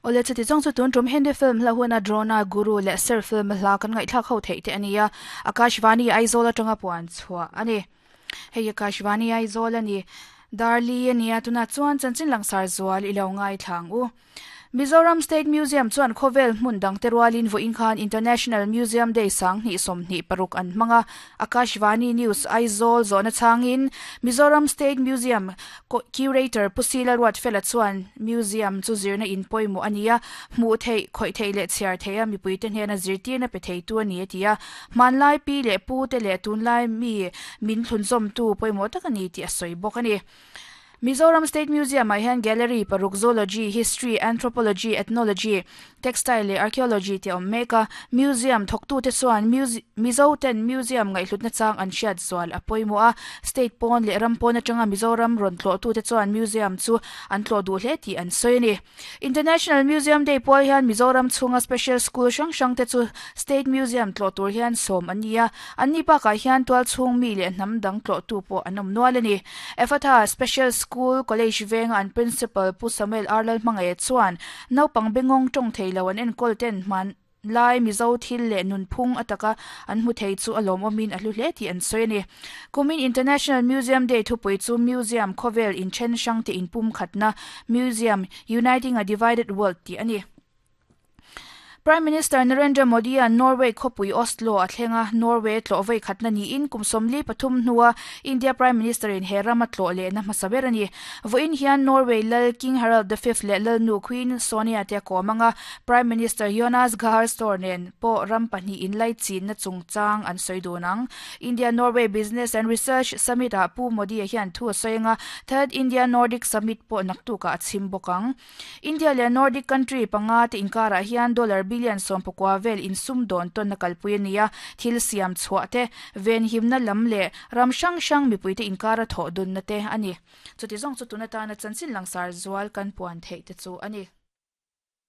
Awle chuti zawng chu tun tum Hindi film hla huna Drona, Guru leh Sir film hla kan ngaihthlak ho theih te a ni a, Akashvani Aizawl atanga puan chhuah a ni. Hei Akashvani Aizawl a ni. Darli a nia, tunah chuan chanchin langsar zual i lo ngaithla ang u. Mizoram State Museum chuan khawvel hmun dangte rualin vawiin khan International Museum Day sanghnih 26 an hmang a, Akashvani News Aizawl zawhna chhangin Mizoram State Museum Curator Pu Sila Ruatfela chuan Museum chu zirna in pawimawh a ni a, hmuh theih, khawih theih leh chhiar theih a mipuite hnena zirtirna pe theitu a ni a ti a, hmanlai pi leh pute leh tunlai mi min thlunzawmtu pawimawh tak a ni tih a sawi bawk a ni. Mizoram State Museum-ah hian Gallery paruk Zoology, History, Anthropology, Ethnology, Textile leh Archaeology tih a awm mek a. Museum thawktute chuan Mizo ten Museum ngaihhlutna chang an hriat zual a pawimawh a. State pawn leh ram pawn atanga Mizoram rawn tlawhtute chuan Museum chu an tlawh duh hle tih an sawi a ni. International Museum Day pual hian Mizoram chhunga Special School hrang hrang te chu State Museum tlawh tur hian sawm an ni a, an ni bakah hian tual chhung mi leh hnam dang tlawhtu pawh an awm nual a ni. Ephatha Special School College venga an Principal Pu Samuel R Lalhmangaih chuan naupang bengawng tawng thei lo an enkawl ten hman Lai Mizo thil leh nunphung a taka an hmu thei chu a lawmawmin a hlu hle tih an sawi a ni. Kumin International Museum Day thupui chu Museum khawvel inthen hrangte inpumkhatna, Museum, Uniting a Divided World tih a ni. Prime Minister Narendra Modi-a'n Norway khawpui Oslo a thleng a, Norway tlawh vawi khatna niin kum 43 hnua India Prime Minister-in he rama tlawh lehna hmasa ber a ni. Vawiin hian Norway lal King Harald the Fifth leh lalnu Queen Sonja te a kawm ang a, Prime Minister Jonas Gahr Store nen pawh ram pahnih inlaichinna chungchang an sawi dun ang. India-Norway Business and Research Summit-ah Pu Modi-a hian thu a sawi ang a, Third India-Nordic Summit pawh naktukah a chhim bawk ang. India leh Nordic country panga te inkarah hian dollar billion 19 vel insum dawn tawn a kalpui a ni a, thil siam chhuah te, venhimna lam leh ram hrang hrang mipuite inkara thawh dunna te a ni. Chuti zawng chu tun atana chanchin langsar zual kan puan theih te chu a ni.